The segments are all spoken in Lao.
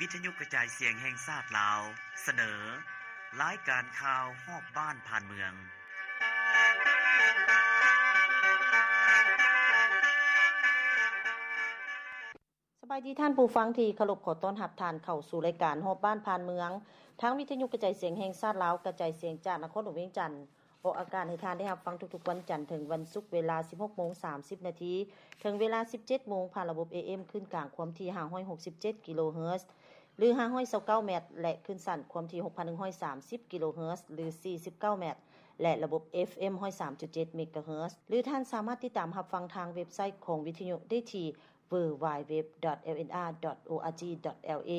ວິທະຍຸກະຈາຍສຽງແຫ່ງຊາດລາວ ສະເໜີ ລາຍການຂ່າວຮອບບ້ານຜ່ານເມືອງ. ສະບາຍດີທ່ານຜູ້ຟັງທີ່ເຄົາລົບ, ຂໍຕ້ອນຮັບທ່ານເຂົ້າສູ່ລາຍການຮອບບ້ານຜ່ານເມືອງ ທາງວິທະຍຸກະຈາຍສຽງແຫ່ງຊາດລາວ ກະຈາຍສຽງຈາກນະຄອນຫຼວງວຽງຈັນ. ອອກອາກາດໃຫ້ທ່ານໄດ້ຮັບຟັງທຸກໆວັນຈັນເຖິງວັນສຸກ ເວລາສິບຫົກໂມງສາມສິບນາທີ ເຖິງເວລາສິບເຈັດໂມງ ຜ່ານລະບົບ ເອເອັມ ຄື້ນກາງຄວາມຖີ່ຫ້າຮ້ອຍຫົກສິບເຈັດກິໂລເຮີດ ຫຼື ຫ້າຮ້ອຍຊາວເກົ້າແມັດ ແລະ ຄື້ນສັ້ນຄວາມຖີ່ຫົກພັນໜຶ່ງຮ້ອຍສາມສິບກິໂລເຮີດ ຫຼື ສີ່ສິບເກົ້າແມັດ ແລະ ລະບົບ ເອຟເອັມ ຮ້ອຍສາມຈຸດເຈັດເມກາເຮີດ ຫຼື ທ່ານສາມາດຕິດຕາມຮັບຟັງທາງເວັບໄຊຂອງວິທະຍຸໄດ້ທີ່ ดัບເບິນຢູດັບເບິນຢູດັບເບິນຢູດັບເບິນຢູ ດອດ ເອລເອັນອາ ດອດ ໂອອາຈີ ດອດ ແອລເອ.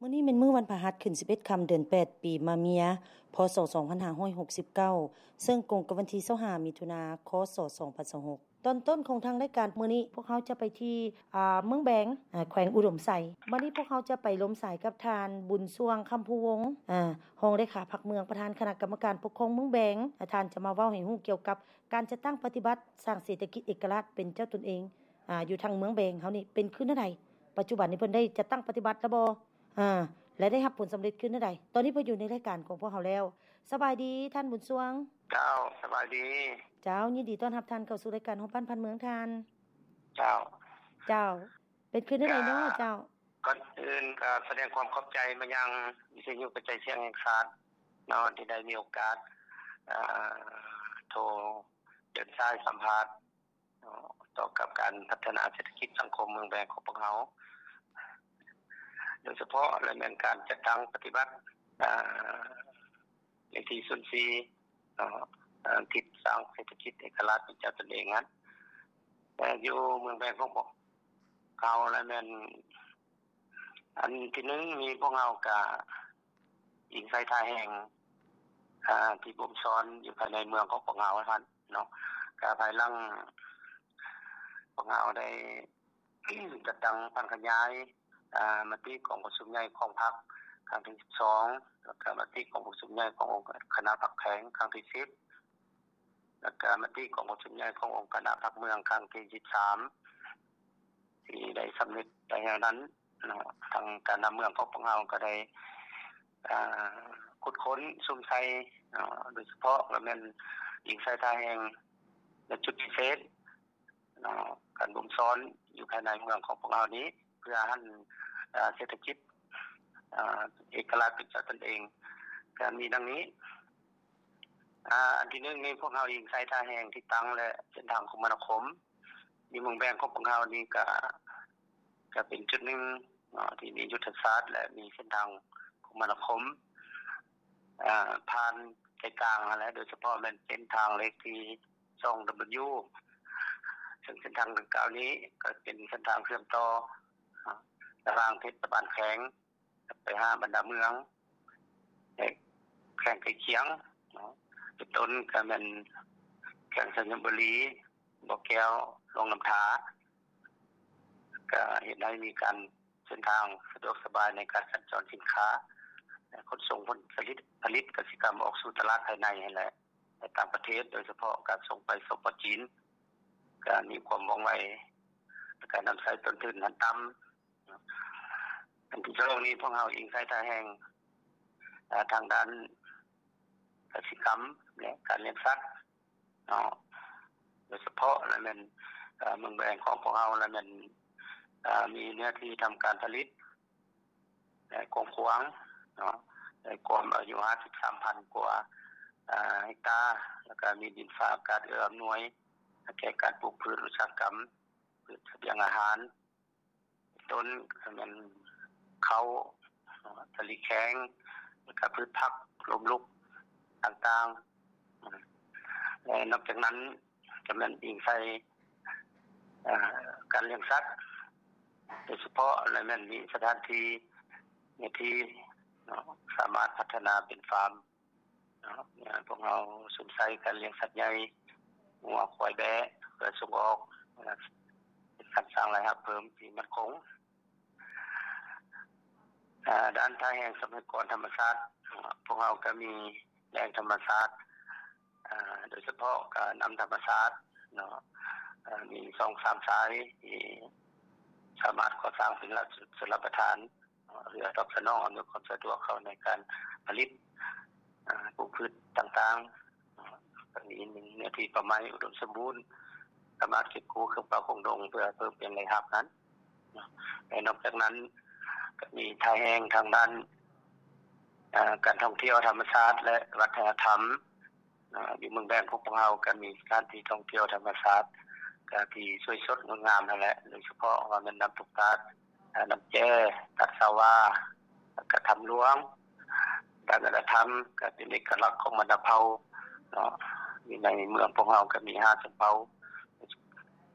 ມື້ນີ້ແມ່ນມື້ວັນພະຫັດ ຂຶ້ນສິບເອັດຄ່ຳ ເດືອນແປດ ປີມະເມຍ ພ.ສ. ສອງພັນຫ້າຮ້ອຍຫົກສິບເກົ້າ ເຊິ່ງກົງກັບວັນທີຊາວຫ້າ ມິຖຸນາ ຄ.ສ. ສອງພັນຊາວຫົກ. ຕອນຕົ້ນຂອງທາງລາຍການມື້ນີ້ ພວກເຮົາຈະໄປທີ່ ອາ ເມືອງແບງ ອາ ແຂວງອຸດົມໄຊ. ບັດນີ້ພວກເຮົາຈະໄປລົມສາຍກັບທ່ານ ບຸນຊ່ວງ ຄຳພູວົງ ອາ ຮອງເລຂາພັກເມືອງ ປະທານຄະນະກຳມະການປົກຄອງເມືອງແບງ. ອາ ທ່ານຈະມາເວົ້າໃຫ້ຮູ້ກ່ຽວກັບການຈັດຕັ້ງປະຕິບັດສ້າງເສດຖະກິດເອກະລາດເປັນເຈົ້າຕົນເອງ ອາ ຢູ່ທາງເມືອງແບງເຮົານີ້ເປັນຄືແນວໃດ? ປັດຈຸບັນນີ້ເພິ່ນໄດ້ຈັດຕັ້ງປະຕິບັດແລ້ວບໍ່? ອາ ແລະ ໄດ້ຮັບຜົນສຳເລັດຄືແນວໃດ? ຕອນນີ້ເພິ່ນຢູ່ໃນລາຍການຂອງພວກເຮົາແລ້ວ. ສະບາຍດີທ່ານບຸນຊ່ວງ. ເຈົ້າ ສະບາຍດີ. ເຈົ້າ ຍິນດີຕ້ອນຮັບທ່ານເຂົ້າສູ່ລາຍການຮອບບ້ານຜ່ານເມືອງທ່ານ. ເຈົ້າ. ເຈົ້າ ເປັນຄືແນວໃດເນາະ? ເຈົ້າ. ກ່ອນອື່ນກໍສະແດງຄວາມຂອບໃຈມາຍັງວິທະຍຸກະຈາຍສຽງແຫ່ງຊາດເນາະ ທີ່ໄດ້ມີໂອກາດ ເອີ ໂທເດີນສາຍສຳພາດ ເນາະ ຕໍ່ກັບການພັດທະນາເສດຖະກິດສັງຄົມເມືອງແບງຂອງພວກເຮົາ ໂດຍສະເພາະແລະແມ່ນການຈັດຕັ້ງປະຕິບັດ ເອີ ເລກທີສູນສີ່ ເນາະ ເອີ ທິດສ້າງເສດຖະກິດເອກະລາດເປັນເຈົ້າຕົນເອງນັ້ນ ແຕ່ຢູ່ເມືອງແບງຂອງພວກເຮົາແລະແມ່ນ ອັນທີໜຶ່ງນີ້ພວກເຮົາກະອີງໃສ່ທ່າແຮງ ອາ ທີ່ບົ່ມຊ້ອນຢູ່ພາຍໃນເມືອງຂອງພວກເຮົາຫັ້ນເນາະ ກະພາຍຫຼັງພວກເຮົາໄດ້ຈັດຕັ້ງຜັນຂະຫຍາຍ ອາ ມະຕິກອງປະຊຸມໃຫຍ່ຂອງພັກຄັ້ງທີສິບສອງ ແລ້ວກະມະຕິກອງປະຊຸມໃຫຍ່ຂອງອົງຄະນະພັກແຂວງຄັ້ງທີສິບ ແລ້ວກະມະຕິກອງປະຊຸມໃຫຍ່ຂອງອົງຄະນະພັກເມືອງຄັ້ງທີສິບສາມ ທີ່ໄດ້ສຳເລັດໄປແລ້ວນັ້ນເນາະ ທາງການນຳເມືອງຂອງພວກເຮົາກໍໄດ້ ອາ ຂຸດຄົ້ນສຸມໃສ່ເນາະ ໂດຍສະເພາະກໍແມ່ນອີງໃສ່ທ່າແຮງ ແລະ ຈຸດພິເສດເນາະ ການບົ່ມຊ້ອນຢູ່ພາຍໃນເມືອງຂອງພວກເຮົານີ້ ເພື່ອຫັນ ອາ ເສດຖະກິດ ອາ ເອກະລາດເປັນເຈົ້າຕົນເອງ ກໍມີດັ່ງນີ້. ອາ ອັນທີໜຶ່ງນີ້ພວກເຮົາອີງໃສ່ທ່າແຮງທີ່ຕັ້ງ ແລະ ເສັ້ນທາງຄົມມະນາຄົມ ຢູ່ເມືອງແບງຂອງພວກເຮົານີ້ກະ ກະເປັນຈຸດໜຶ່ງເນາະ ທີ່ມີຍຸດທະສາດ ແລະ ມີເສັ້ນທາງຄົມມະນາຄົມ ອາ ຜ່ານໃຈກາງຫັ້ນແຫຼະ ໂດຍສະເພາະແມ່ນເສັ້ນທາງເລກທີສອງດັບເບິນຢູ ເຊິ່ງເສັ້ນທາງດັ່ງກ່າວນີ້ກໍເປັນເສັ້ນທາງເຊື່ອມຕໍ່ ອາ ລະຫວ່າງເທດສະບານແຂວງ ໄປຫາບັນດາເມືອງ ແລະ ແຂວງໃກ້ຄຽງເນາະ ເປັນຕົ້ນກໍແມ່ນແຂວງໄຊຍະບູລີ, ບໍ່ແກ້ວ, ຫຼວງນ້ຳທາ ກໍເຮັດໃຫ້ມີການເສັ້ນທາງສະດວກສະບາຍໃນການສັນຈອນສິນຄ້າ ແລະ ຂົນສົ່ງຜົນຜະລິດ ຜະລິດກະສິກຳອອກສູ່ຕະຫຼາດພາຍໃນຫັ້ນແຫຼະ ແລະ ຕ່າງປະເທດ ໂດຍສະເພາະການສົ່ງໄປ ສປ ຈີນ ກໍມີຄວາມວ່ອງໄວ ແລະ ການນຳໃຊ້ຕົ້ນທຶນຫັ້ນຕ່ຳ. ອັນທີສອງນີ້ ພວກເຮົາອີງໃສ່ທ່າແຮງ ເອີ ທາງດ້ານກະສິກຳ ແລະ ການລ້ຽງສັດເນາະ ໂດຍສະເພາະລະແມ່ນ ເອີ ເມືອງແບງຂອງພວກເຮົາລະແມ່ນ ເອີ ມີເນື້ອທີ່ທຳການຜະລິດ ແລະ ກວ້າງຂວາງເນາະ ໄດ້ກວມອາຍຸຫ້າສິບສາມພັນກວ່າ ເອີ ເຮັກຕາ ແລ້ວກະມີດິນຟ້າອາກາດເອື້ອອຳນວຍ ແກ່ການປູກພືດອຸດສາຫະກຳ ພືດສະບຽງອາຫານ ຕົ້ນກໍແມ່ນເຂົ້າ ສາລີແຂງ ແລ້ວກະພືດຜັກລົ້ມລຸກຕ່າງໆ ແລະ ນອກຈາກນັ້ນກໍແມ່ນອີງໃສ່ ເອີ ການລ້ຽງສັດ ໂດຍສະເພາະລະແມ່ນມີສະຖານທີ່ ເນື້ອທີ່ເນາະ ສາມາດພັດທະນາເປັນຟາມ ເນາະ ພວກເຮົາສຸມໃສ່ການລ້ຽງສັດໃຫຍ່ ງົວ ຄວາຍ ແບ້ ເພື່ອສົ່ງອອກ ເປັນການສ້າງລາຍຮັບເພີ່ມທີ່ໝັ້ນຄົງ. ອາ ດ້ານທ່າແຮງຊັບພະຍາກອນທຳມະຊາດ ພວກເຮົາກໍມີແຫຼ່ງທຳມະຊາດ ອາ ໂດຍສະເພາະກໍນ້ຳທຳມະຊາດເນາະ ອາ ມີສອງສາມສາຍທີ່ສາມາດກໍ່ສ້າງເປັນລະ ຊົນລະປະທານ ເພື່ອຕອບສະໜອງອຳນວຍຄວາມສະດວກເຂົາໃນການຜະລິດ ອາ ປູກພືດຕ່າງໆ ກໍມີໜຶ່ງເນື້ອທີ່ປ່າໄມ້ອຸດົມສົມບູນ ສາມາດເກັບກູ້ເຄື່ອງປ່າຄົງດົງ ເພື່ອເພີ່ມເປັນລາຍຮັບນັ້ນ. ແລະ ນອກຈາກນັ້ນກໍມີທ່າແຮງທາງດ້ານ ອາ ການທ່ອງທ່ຽວທຳມະຊາດ ແລະ ວັດທະນະທຳ. ອາ ຢູ່ເມືອງແບງຂອງພວກເຮົາກໍມີສະຖານທີ່ທ່ອງທ່ຽວທຳມະຊາດ ກະທີ່ສວຍສົດງົດງາມຫັ້ນແຫຼະ ໂດຍສະເພາະວ່າແມ່ນນ້ຳຕົກຕາດ ອາ ນ້ຳແຈ້ ຕາດສາວາ ແລ້ວກະຖ້ຳຫຼວງ. ດ້ານວັດທະນະທຳກໍເປັນເອກະລັກຂອງບັນດາເຜົ່າເນາະ ຢູ່ໃນເມືອງພວກເຮົາກໍມີຫ້າຊົນເຜົ່າ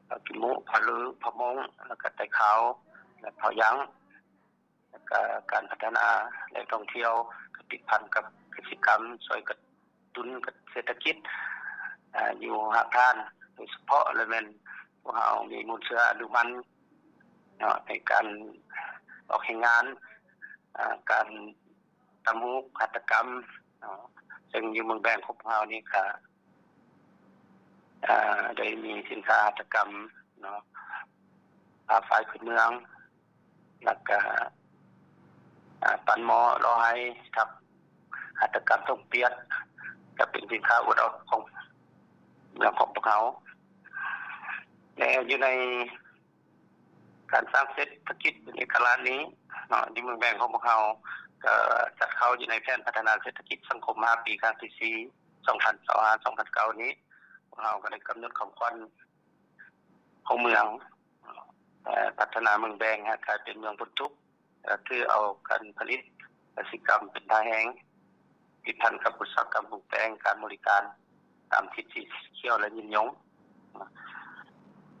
ເຜົ່າກິມມຸ ເຜົ່າລື ເຜົ່າມົ້ງ ແລ້ວກະໄຕຂາວ ແລະ ເຜົ່າຢັງ. ແລ້ວກະການພັດທະນາແຫຼ່ງທ່ອງທ່ຽວກໍຕິດພັນກັບກະສິກຳ ຊ່ວຍກະຕຸ້ນເສດຖະກິດ ອາ ຢູ່ຮາກຖານ ໂດຍສະເພາະລະແມ່ນພວກເຮົາມີມູນເຊື້ອອະນຸພັນເນາະ ໃນການອອກແຮງງານ ອາ ການ ຕຳຫູກ ຫັດຖະກຳເນາະ ເຊິ່ງຢູ່ເມືອງແບງຂອງພວກເຮົານີ້ກະ ອາ ໄດ້ມີສິນຄ້າຫັດຖະກຳເນາະ ຜ້າຝ້າຍພື້ນເມືອງ ແລ້ວກະ ອາ ປັ້ນໝໍ້ ຫຼໍ່ໄຮ ທັບຫັດຖະກຳຖົງປຽກ ກະເປັນສິນຄ້າອວດອອກຂອງເມືອງຂອງພວກເຮົາ ແລະ ຢູ່ໃນ ການສ້າງເສດຖະກິດເປັນເອກະລາດນີ້ເນາະ ຢູ່ເມືອງແບງຂອງພວກເຮົາ ກໍຈັດເຂົ້າຢູ່ໃນແຜນພັດທະນາເສດຖະກິດສັງຄົມຫ້າປີ ຄັ້ງທີສີ່ ສອງພັນຊາວຫ້າ ສອງພັນຊາວເກົ້ານີ້ ພວກເຮົາກໍໄດ້ກຳນົດຄຳຂວັນຂອງເມືອງ ເອີ ພັດທະນາເມືອງແບງໃຫ້ກາຍເປັນເມືອງພົ້ນທຸກ ກໍຖືເອົາການຜະລິດກະສິກຳເປັນທ່າແຮງ ຕິດພັນກັບອຸດສາຫະກຳປຸງແປງ ການບໍລິການຕາມທິດສີຂຽວ ແລະ ຍືນຍົງ.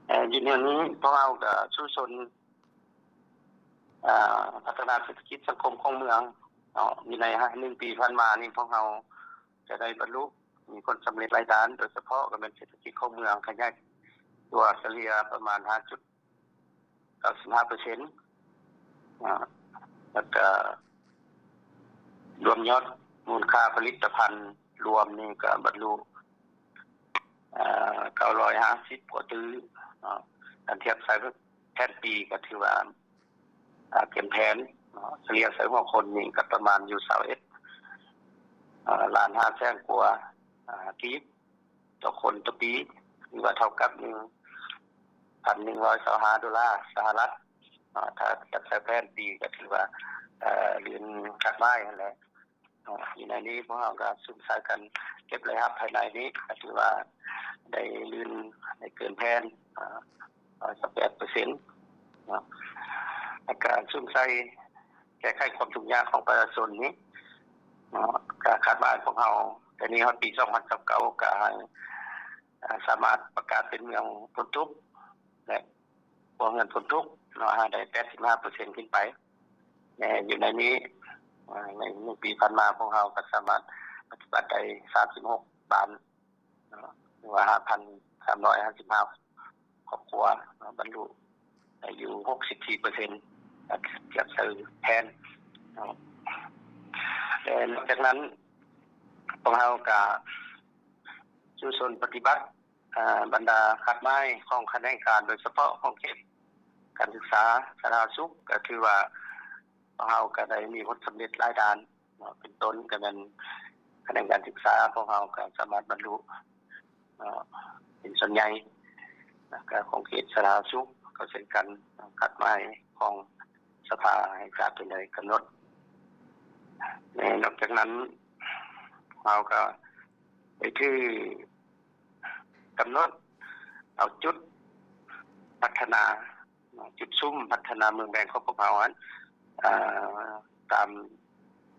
ເອີ ຢູ່ແນວນີ້ພວກເຮົາກໍສູ້ຊົນ ອາ ພັດທະນາເສດຖະກິດສັງຄົມຂອງເມືອງເນາະ ຢູ່ໃນໜຶ່ງປີຜ່ານມານີ້ ພວກເຮົາຈະໄດ້ບັນລຸມີຜົນສຳເລັດຫຼາຍດ້ານ ໂດຍສະເພາະກໍແມ່ນເສດຖະກິດຂອງເມືອງຂະຫຍາຍຕົວສະເລ່ຍປະມານຫ້າຈຸດ ເກົ້າສິບຫ້າເປີເຊັນ ອາ ແລ້ວກະລວມຍອດມູນຄ່າຜະລິດຕະພັນລວມນີ້ກະບັນລຸ ອາ ເກົ້າຮ້ອຍຫ້າສິບກວ່າຕື້ເນາະ ຄັນທຽບໃສ່ແຜນປີກະຖືວ່າ ອາ ເກີນແຜນເນາະ ສະເລ່ຍໃສ່ຫົວຄົນນີ້ກະປະມານຢູ່ຊາວເອັດ ອາ ລ້ານຫ້າແສນກວ່າ ອາ ກີບ ຕໍ່ຄົນຕໍ່ປີ ຫຼືວ່າເທົ່າກັບໜຶ່ງພັນໜຶ່ງຮ້ອຍຊາວຫ້າໂດລາສະຫະລັດເນາະ ຖ້າຈັດໃສ່ແຜນປີກໍຖືວ່າ ເອີ ລື່ນຄາດໝາຍຫັ້ນແຫຼະເນາະ. ຢູ່ໃນນີ້ພວກເຮົາກໍສຸມໃສ່ກັນເກັບລາຍຮັບພາຍໃນນີ້ ກໍຖືວ່າໄດ້ລື່ນ ໄດ້ເກີນແຜນ ອາ ຮ້ອຍຊາວແປດເປີເຊັນເນາະ ແລ້ວກໍສຸມໃສ່ແກ້ໄຂຄວາມທຸກຍາກຂອງປະຊາຊົນນີ້ເນາະ ກໍຄາດວ່າພວກເຮົາ ແຕ່ນີ້ຮອດປີສອງພັນຊາວເກົ້າ ກໍໃຫ້ ອາ ສາມາດປະກາດເປັນເມືອງພົ້ນທຸກ ແລະ ຄົວເຮືອນພົ້ນທຸກເນາະ ໃຫ້ໄດ້ແປດສິບຫ້າເປີເຊັນຂຶ້ນໄປ ແລະ ຢູ່ໃນນີ້ ອາ ໃນໜຶ່ງປີຜ່ານມາ ພວກເຮົາກໍສາມາດປະຕິບັດໄດ້ສາມສິບຫົກບ້ານເນາະ ຫຼືວ່າຫ້າພັນສາມຮ້ອຍຫ້າສິບຫ້າຄອບຄົວເນາະ ບັນລຸໄດ້ຢູ່ຫົກສິບສີ່ເປີເຊັນ ທຽບໃສ່ແຜນເນາະ. ແລະ ນອກຈາກນັ້ນ ພວກເຮົາກໍສູ້ຊົນປະຕິບັດ ອາ ບັນດາຄາດໝາຍຂອງຂະແໜງການ ໂດຍສະເພາະຂອງເຂດການສຶກສາສາທາລະນະສຸກ ກໍຖືວ່າພວກເຮົາກໍໄດ້ມີຜົນສຳເລັດຫຼາຍດ້ານເນາະ ເປັນຕົ້ນກໍແມ່ນຂະແໜງການສຶກສາ ພວກເຮົາກໍສາມາດບັນລຸ ເນາະ ເປັນສ່ວນໃຫຍ່ ແລ້ວກໍຂອງເຂດສາທາລະນະສຸກກໍເຊັ່ນກັນ ຄາດໝາຍຂອງສະພາແຫ່ງຊາດເປັນໄດ້ກຳນົດ. ແລະ ນອກຈາກນັ້ນ ເຮົາກໍໄດ້ຖືກຳນົດເອົາຈຸດພັດທະນາ ເນາະ ຈຸດສຸມພັດທະນາເມືອງແບງຂອງພວກເຮົາຫັ້ນ ເອີ ຕາມ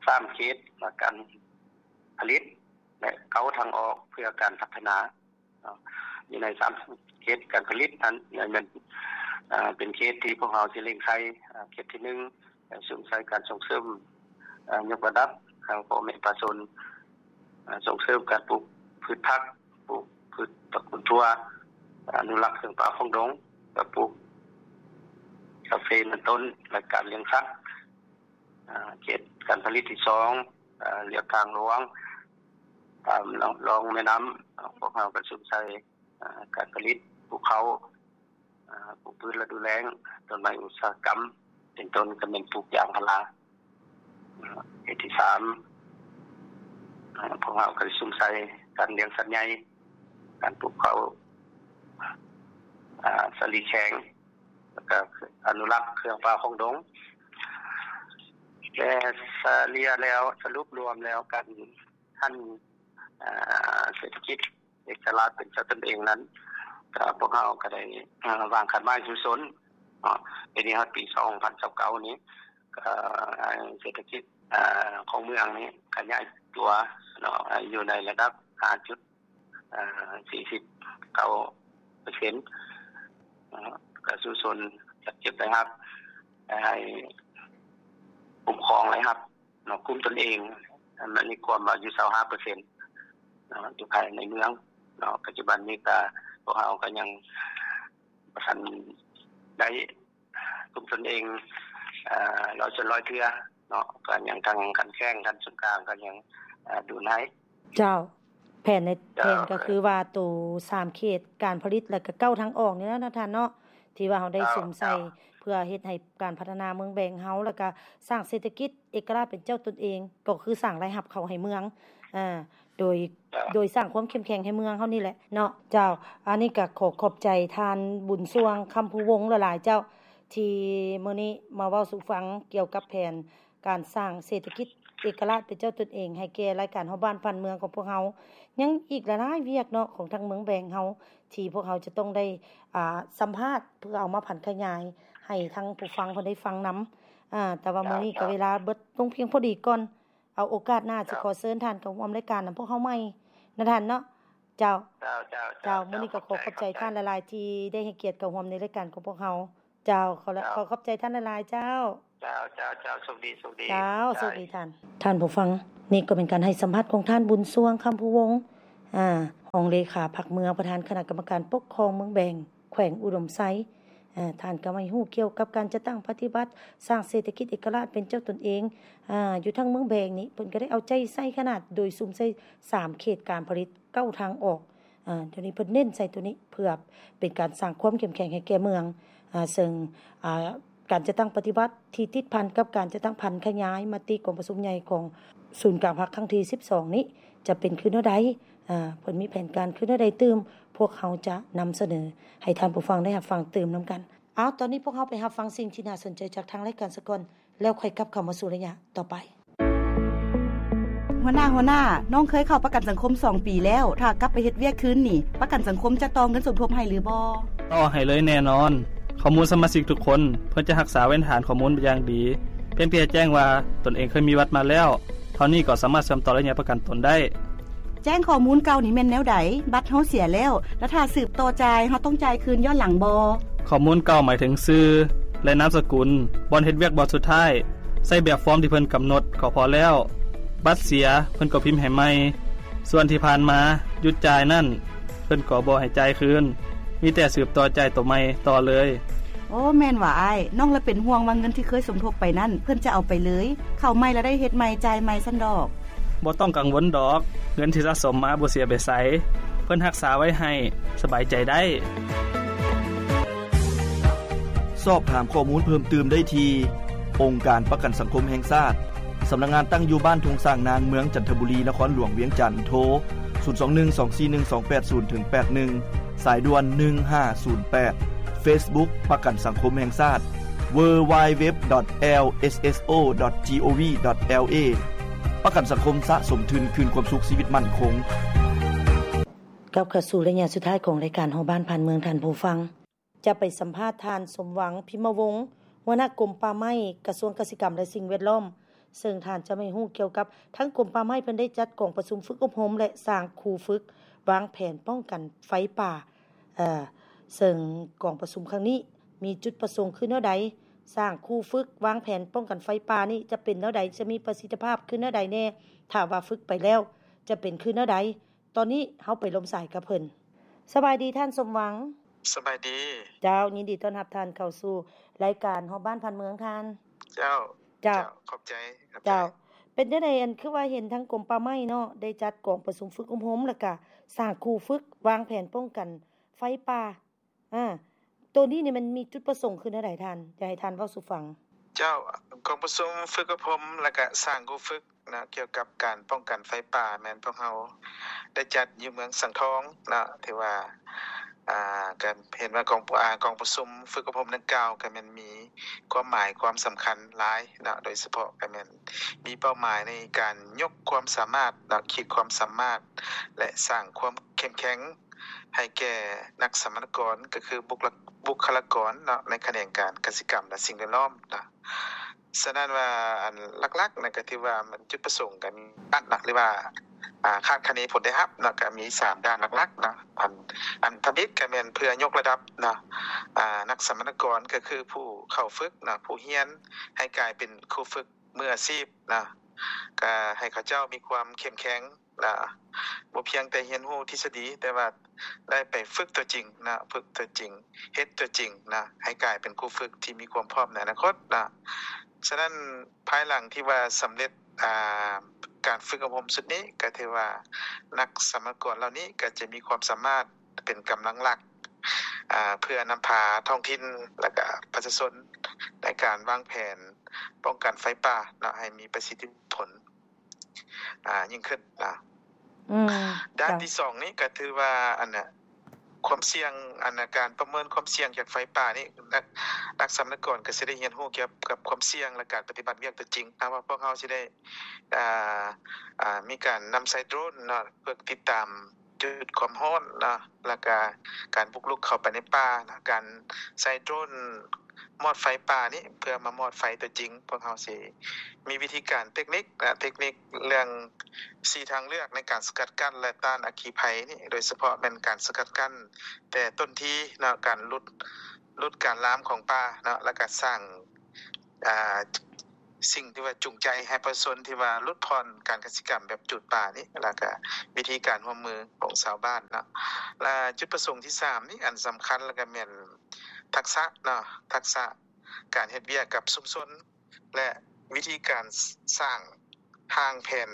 ສາມເຂດການຜະລິດ ແລະ ເກົ້າທາງອອກເພື່ອການພັດທະນາເນາະ. ຢູ່ໃນສາມເຂດການຜະລິດນັ້ນ ແມ່ນ ເປັນເຂດທີ່ພວກເຮົາຊິເລັ່ງໃສ່ ເຂດທີໜຶ່ງ ສຸມໃສ່ການສົ່ງເສີມ ຍົກລະດັບ ໃຫ້ພໍ່ແມ່ປະຊາຊົນ ສົ່ງເສີມການປູກພືດຜັກ ປູກພືດຕະກູນຖົ່ວ ອະນຸລັກເຄື່ອງປ່າຂອງດົງ ກະປູກກາເຟ ເປັນຕົ້ນ ແລະ ການລ້ຽງສັດ. ເຂດການຜະລິດທີສອງ ລຽບທາງຫຼວງ ຕາມລອງແມ່ນ້ຳ ພວກເຮົາກະສຸມໃສ່ການຜະລິດປູກເຂົ້າ ປູກພືດລະດູແລ້ງ ຕົ້ນໄມ້ອຸດສາຫະກຳ ເປັນຕົ້ນກໍແມ່ນປູກຢາງພາລາ. ເຂດທີສາມ ພວກເຮົາກໍໄດ້ສຸມໃສ່ການລ້ຽງສັດໃຫຍ່, ການປູກເຂົ້າ, ອາ ສາລີແຂງ ແລ້ວກໍອະນຸລັກເຄື່ອງປ່າຂອງດົງ. ແຕ່ສະເລ່ຍແລ້ວ ສະຫຼຸບລວມແລ້ວ ການຫັນ ເສດຖະກິດເອກະລາດເປັນເຈົ້າຕົນເອງນັ້ນ ກໍພວກເຮົາກໍໄດ້ ເອີ ວາງຄາດໝາຍສູ້ຊົນເນາະ ປີນີ້ຮອດປີສອງພັນຊາວເກົ້ານີ້ ກໍໃຫ້ເສດຖະກິດ ເອີ ຂອງເມືອງນີ້ຂະຫຍາຍຕົວເນາະ ໃຫ້ຢູ່ໃນລະດັບຫ້າຈຸດ ເອີ ສີ່ສິບເກົ້າເປີເຊັນ ເນາະ ກະສູ້ຊົນຈັດເກັບລາຍຮັບ ໃຫ້ຄຸ້ມຄອງລາຍຮັບເນາະ ກຸ້ມຕົນເອງ ອັນນີ້ຄວາມວ່າຢູ່ຊາວຫ້າເປີເຊັນເນາະ ຢູ່ພາຍໃນເມືອງເນາະ. ປັດຈຸບັນນີ້ກະພວກເຮົາກະຍັງບໍ່ທັນໄດ້ ກຸ້ມຕົນເອງ ເອີ ຮ້ອຍສ່ວນຮ້ອຍເທື່ອເນາະ ກໍຍັງທາງຂັ້ນແຂວງຂັ້ນສູນກາງກໍຍັງ ເອີ ດູນໃຫ້. ເຈົ້າ ແຜນໃນ ເຈົ້າ ແຜນກໍຄືວ່າໂຕສາມເຂດການຜະລິດ ແລ້ວກໍເກົ້າທາງອອກນີ້ແຫຼະເນາະທ່ານເນາະ ທີ່ວ່າເຮົາໄດ້ ເຈົ້າ ສຸມໃສ່ ເຈົ້າ ເພື່ອເຮັດໃຫ້ການພັດທະນາເມືອງແບງເຮົາ ແລ້ວກໍສ້າງເສດຖະກິດເອກະລາດເປັນເຈົ້າຕົນເອງ ກໍຄືສ້າງລາຍຮັບເຂົ້າໃຫ້ເມືອງ ອາ ໂດຍ ເຈົ້າ ໂດຍສ້າງຄວາມເຂັ້ມແຂງໃຫ້ເມືອງເຮົານີ້ແຫຼະເນາະ. ເຈົ້າ ອັນນີ້ກໍຂໍຂອບໃຈທ່ານບຸນຊ່ວງ ຄຳພູວົງ ຫຼາຍໆ ເຈົ້າ ທີ່ມື້ນີ້ມາເວົ້າສູ່ຟັງກ່ຽວກັບແຜນການສ້າງເສດຖະກິດເອກະລາດເປັນເຈົ້າຕົນເອງໃຫ້ແກ່ລາຍການຮອບບ້ານຜ່ານເມືອງຂອງພວກເຮົາ. ຍັງອີກຫຼາຍໆວຽກເນາະ ຂອງທາງເມືອງແບງເຮົາ ທີ່ພວກເຮົາຈະຕ້ອງໄດ້ ອາ ສຳພາດ ເພື່ອເອົາມາຜັນຂະຫຍາຍໃຫ້ທາງຜູ້ຟັງເພິ່ນໄດ້ຟັງນຳ. ອາ ແຕ່ວ່າມື້ນີ້ກໍເວລາເບິດລົງພຽງພໍດີກ່ອນ. ເອົາໂອກາດໜ້າ ຈະຂໍເຊີນທ່ານເຂົ້າຮ່ວມລາຍການນຳພວກເຮົາໃໝ່ນະທ່ານເນາະ. ເຈົ້າ ເຈົ້າ ເຈົ້າ ເຈົ້າ ມື້ນີ້ກໍຂໍຂອບໃຈ ຂອບໃຈ ທ່ານຫຼາຍໆ ທີ່ໄດ້ໃຫ້ກຽດເຂົ້າຮ່ວມໃນລາຍການຂອງພວກເຮົາ. ເຈົ້າ ຂໍ ເຈົ້າ ຂໍຂອບໃຈທ່ານຫຼາຍໆ ເຈົ້າ. ເຈົ້າ ເຈົ້າ ເຈົ້າ ໂຊກດີ ໂຊກດີ ເຈົ້າ ໂຊກດີທ່ານ. ທ່ານຜູ້ຟັງ, ນີ້ກໍເປັນການໃຫ້ສຳພາດຂອງທ່ານ ບຸນຊ່ວງ ຄຳພູວົງ ອາ ຮອງເລຂາພັກເມືອງ, ປະທານຄະນະກຳມະການປົກຄອງເມືອງແບງ ແຂວງອຸດົມໄຊ. ອາ ທ່ານກໍໃຫ້ຮູ້ກ່ຽວກັບການຈັດຕັ້ງປະຕິບັດ ສ້າງເສດຖະກິດເອກະລາດເປັນເຈົ້າຕົນເອງ ອາ ຢູ່ທາງເມືອງແບງນີ້ ເພິ່ນກໍໄດ້ເອົາໃຈໃສ່ຂະໜາດ ໂດຍສຸມໃສ່ສາມເຂດການຜະລິດ ເກົ້າທາງອອກ. ອາ ດຽວນີ້ເພິ່ນເນັ້ນໃສ່ໂຕນີ້ ເພື່ອເປັນການສ້າງຄວາມເຂັ້ມແຂງໃຫ້ແກ່ເມືອງ. ອາ ເຊິ່ງ ອາ ການຈັດຕັ້ງປະຕິບັດທີ່ຕິດພັນກັບການຈັດຕັ້ງຜັນຂະຫຍາຍມະຕິກອງປະຊຸມໃຫຍ່ຂອງສູນກາງພັກຄັ້ງທີສິບສອງນີ້ ຈະເປັນຄືແນວໃດ? ອາ ເພິ່ນມີແຜນການຄືແນວໃດຕື່ມ? ພວກເຮົາຈະນຳສະເໜີໃຫ້ທ່ານຜູ້ຟັງໄດ້ຮັບຟັງຕື່ມນຳກັນ. ເອົາ, ຕອນນີ້ພວກເຮົາໄປຮັບຟັງສິ່ງທີ່ໜ້າສົນໃຈຈາກທາງລາຍການສາກ່ອນ ແລ້ວຄ່ອຍກັບເຂົ້າມາສູ່ໄລຍະຕໍ່ໄປ. ຫົວໜ້າ, ຫົວໜ້າ, ນ້ອງເຄີຍເຂົ້າປະກັນສັງຄົມສອງປີແລ້ວ, ຖ້າກັບໄປເຮັດວຽກຄືນນີ້, ປະກັນສັງຄົມຈະຕໍ່ເງິນສົມທົບໃຫ້ຫຼືບໍ່? ຕໍ່ໃຫ້ເລີຍແນ່ນອນ. ຂໍ້ມູນສະມາຊິກທຸກຄົນ ເພິ່ນຈະຮັກສາເວນຖານຂໍ້ມູນຢ່າງດີ. ພຽງແຕ່ແຈ້ງວ່າຕົນເອງເຄີຍມີບັດມາແລ້ວ ເທົ່ານີ້ກໍສາມາດເຊື່ອມຕໍ່ໄລຍະປະກັນຕົນໄດ້. ແຈ້ງຂໍ້ມູນເກົ່ານີ້ແມ່ນແນວໃດ? ບັດເຮົາເສຍແລ້ວ ແລ້ວຖ້າສືບຕໍ່ຈ່າຍ ເຮົາຕ້ອງຈ່າຍຄືນຍ້ອນຫຼັງບໍ່? ຂໍ້ມູນເກົ່າໝາຍເຖິງຊື່ ແລະ ນາມສະກຸນ, ບ່ອນເຮັດວຽກບ່ອນສຸດທ້າຍ, ໃຊ້ແບບຟອມທີ່ເພິ່ນກຳນົດກໍພໍແລ້ວ. ບັດເສຍ ເພິ່ນກໍພິມໃຫ້ໃໝ່. ສ່ວນທີ່ຜ່ານມາຢຸດຈ່າຍນັ້ນ ເພິ່ນກໍບໍ່ໃຫ້ຈ່າຍຄືນ, ມີແຕ່ສືບຕໍ່ຈ່າຍໂຕໃໝ່ຕໍ່ເລີຍ. ໂອ້ ແມ່ນຫວາອ້າຍ, ນ້ອງລະເປັນຫ່ວງວ່າເງິນທີ່ເຄີຍສົມທົບໄປນັ້ນ ເພິ່ນຈະເອົາໄປເລີຍ, ເຂົ້າໃໝ່ລະໄດ້ເຮັດໃໝ່, ຈ່າຍໃໝ່ຊັ້ນດອກ. ບໍ່ຕ້ອງກັງວົນດອກ, ເງິນທີ່ສະສົມມາບໍ່ເສຍໄປໃສ, ເພິ່ນຮັກສາໄວ້ໃຫ້, ສະບາຍໃຈໄດ້. ສອບຖາມຂໍ້ມູນເພີ່ມຕື່ມໄດ້ທີ່ ອົງການປະກັນສັງຄົມແຫ່ງຊາດ, ສຳນັກງານຕັ້ງຢູ່ບ້ານທົ່ງຊ້າງນາງ, ເມືອງຈັນທະບູລີ, ນະຄອນຫຼວງວຽງຈັນ, ໂທ ສູນສອງໜຶ່ງ ສອງສີ່ໜຶ່ງ ສອງແປດສູນ ເຖິງ ແປດໜຶ່ງ, ສາຍດ່ວນ ໜຶ່ງຫ້າສູນແປດ, Facebook ປະກັນສັງຄົມແຫ່ງຊາດ www.lsso.gov.la ປະກັນສັງຄົມສະສົມທຶນຄືນຄວາມສຸກຊີວິດໝັ້ນຄົງ. ກັບເຂົ້າສູ່ໄລຍະສຸດທ້າຍຂອງລາຍການຮອບບ້ານຜ່ານເມືອງ, ທ່ານຜູ້ຟັງຈະໄປສຳພາດທ່ານ ສົມຫວັງ ພິມມະວົງ ຫົວໜ້າກົມປ່າໄມ້ ກະຊວງກະສິກຳ ແລະ ສິ່ງແວດລ້ອມ, ເຊິ່ງທ່ານຈະໃຫ້ຮູ້ກ່ຽວກັບທາງກົມປ່າໄມ້ເພິ່ນໄດ້ຈັດກອງປະຊຸມຝຶກອົບຮົມ ແລະ ສ້າງຄູຝຶກວາງແຜນປ້ອງກັນໄຟປ່າ. ເອີ ເຊິ່ງກອງປະຊຸມຄັ້ງນີ້ມີຈຸດປະສົງຄືແນວໃດ? ສ້າງຄູຝຶກວາງແຜນປ້ອງກັນໄຟປ່ານີ້ຈະເປັນແນວໃດ? ຈະມີປະສິດທິພາບຄືແນວໃດແດ່? ຖ້າວ່າຝຶກໄປແລ້ວຈະເປັນຄືແນວໃດ? ຕອນນີ້ເຮົາໄປລົມສາຍກັບເພິ່ນ. ສະບາຍດີທ່ານ ສົມຫວັງ. ສະບາຍດີ. ເຈົ້າ, ຍິນດີຕ້ອນຮັບທ່ານເຂົ້າສູ່ລາຍການຮອບບ້ານຜ່ານເມືອງທ່ານ. ເຈົ້າ. ເຈົ້າ. ເຈົ້າ. ຂອບໃຈ. ຂອບໃຈ. ເຈົ້າ. ເປັນຈັ່ງໃດ ອັນ ຄືວ່າເຫັນທາງກົມປ່າໄມ້ເນາະ ໄດ້ຈັດກອງປະຊຸມຝຶກອົບຮົມ ແລ້ວກະສ້າງຄູຝຶກວາງແຜນປ້ອງກັນໄຟປ່າ. ອາ ໂຕນີ້ນີ້ມັນມີຈຸດປະສົງຄືແນວໃດທ່ານ? ຢາກໃຫ້ທ່ານເວົ້າສູ່ຟັງ. ເຈົ້າ, ກອງປະຊຸມຝຶກອົບຮົມ ແລະກະສ້າງຄູຝຶກເນາະ ກ່ຽວກັບການປ້ອງກັນໄຟປ່າ ແມ່ນພວກເຮົາໄດ້ຈັດຢູ່ເມືອງສັງທອງເນາະ ຖືວ່າ ອ່າ ກະເຫັນວ່າກອງ ອ່າ ກອງປະຊຸມຝຶກອົບຮົມດັ່ງກ່າວ ກະແມ່ນມີຄວາມໝາຍຄວາມສຳຄັນຫຼາຍເນາະ ໂດຍສະເພາະກະແມ່ນມີເປົ້າໝາຍໃນການຍົກຄວາມສາມາດເນາະ ຂີດຄວາມສາມາດ ແລະ ສ້າງຄວາມເຂັ້ມແຂງ ໃຫ້ແກ່ນັກສຳມະນາກອນ ກໍຄືບຸກລະ ບຸກຄະລາກອນເນາະ ໃນຂະແໜງການກະສິກຳ ແລະ ສິ່ງແວດລ້ອມເນາະ. ສະນັ້ນວ່າ ອັນຫຼັກໆນະ ກໍຖືວ່າມັນຈຸດປະສົງກໍມີອັດນະ ຫຼືວ່າ ອ່າ ຄາດຄະເນຜົນໄດ້ຮັບເນາະ ກໍມີສາມດ້ານຫຼັກໆເນາະ. ອັນ ອັນທຳອິດກໍແມ່ນເພື່ອຍົກລະດັບເນາະ ອ່າ ນັກສຳມະນາກອນ ກໍຄືຜູ້ເຂົ້າຝຶກເນາະ ຜູ້ຮຽນ ໃຫ້ກາຍເປັນຄູຝຶກມືອາຊີບເນາະ ກໍໃຫ້ເຂົາເຈົ້າມີຄວາມເຂັ້ມແຂງ ນະ ບໍ່ພຽງແຕ່ຮຽນຮູ້ທິດສະດີ ແຕ່ວ່າໄດ້ໄປຝຶກຕົວຈິງນະ ຝຶກຕົວຈິງ ເຮັດຕົວຈິງນະ ໃຫ້ກາຍເປັນຄູຝຶກທີ່ມີຄວາມພ້ອມໃນອະນາຄົດນະ. ສະນັ້ນ ພາຍຫຼັງທີ່ວ່າສຳເລັດ ອ່າ ການຝຶກອົບຮົມຊຸດນີ້ ກໍຖືວ່ານັກສຳມະນາກອນເຫຼົ່ານີ້ກໍຈະມີຄວາມສາມາດເປັນກຳລັງຫຼັກ ອ່າ ເພື່ອນຳພາທ້ອງຖິ່ນ ແລະກະປະຊາຊົນ ໃນການວາງແຜນປ້ອງກັນໄຟປ່າເນາະ ໃຫ້ມີປະສິດທິຜົນ ອ່າ ຍິ່ງຂຶ້ນນະ. ອືມ ດ້ານ ເຈົ້າ ທີສອງນີ້ກໍຖືວ່າ ອັນນະ ຄວາມສ່ຽງ ອັນນະ ການປະເມີນຄວາມສ່ຽງຈາກໄຟປ່ານີ້ ນັກ ນັກສຳມະນາກອນກໍຊິໄດ້ຮຽນຮູ້ກ່ຽວກັບຄວາມສ່ຽງ ແລະ ການປະຕິບັດວຽກຕົວຈິງນະ ວ່າພວກເຮົາຊິໄດ້ ອ່າ ອ່າ ມີການນຳໃຊ້ໂດຣນເນາະ ເພື່ອຕິດຕາມຈຸດຄວາມຮ້ອນເນາະ ແລະກະການບຸກລຸກເຂົ້າໄປໃນປ່ານະ ການໃຊ້ໂດຣນ ມອດໄຟປ່ານີ້ ເພື່ອມາມອດໄຟຕົວຈິງ ພວກເຮົາຊິມີວິທີການເຕັກນິກ ແລະ ເຕັກນິກເລື່ອງສີ່ທາງເລືອກໃນການສະກັດກັ້ນ ແລະ ຕ້ານອັກຄີໄພນີ້ ໂດຍສະເພາະແມ່ນການສະກັດກັ້ນແຕ່ຕົ້ນທີເນາະ ການຫຼຸດ ຫຼຸດການລາມຂອງປ່າເນາະ ແລະກະສ້າງ ອ່າ ສິ່ງທີ່ວ່າຈູງໃຈໃຫ້ປະຊາຊົນທີ່ວ່າຫຼຸດຜ່ອນການກະສິກຳແບບຈູດປ່ານີ້ ແລະກະວິທີການຮ່ວມມືຂອງຊາວບ້ານເນາະ ແລະ ຈຸດປະສົງທີສາມນີ້ ອັນສຳຄັນ ແລະກະແມ່ນ ທັກສະເນາະ ທັກສະການເຮັດວຽກກັບຊຸມຊົນ ແລະ ວິທີການ ສ- ສ້າງຮ່າງແຜນ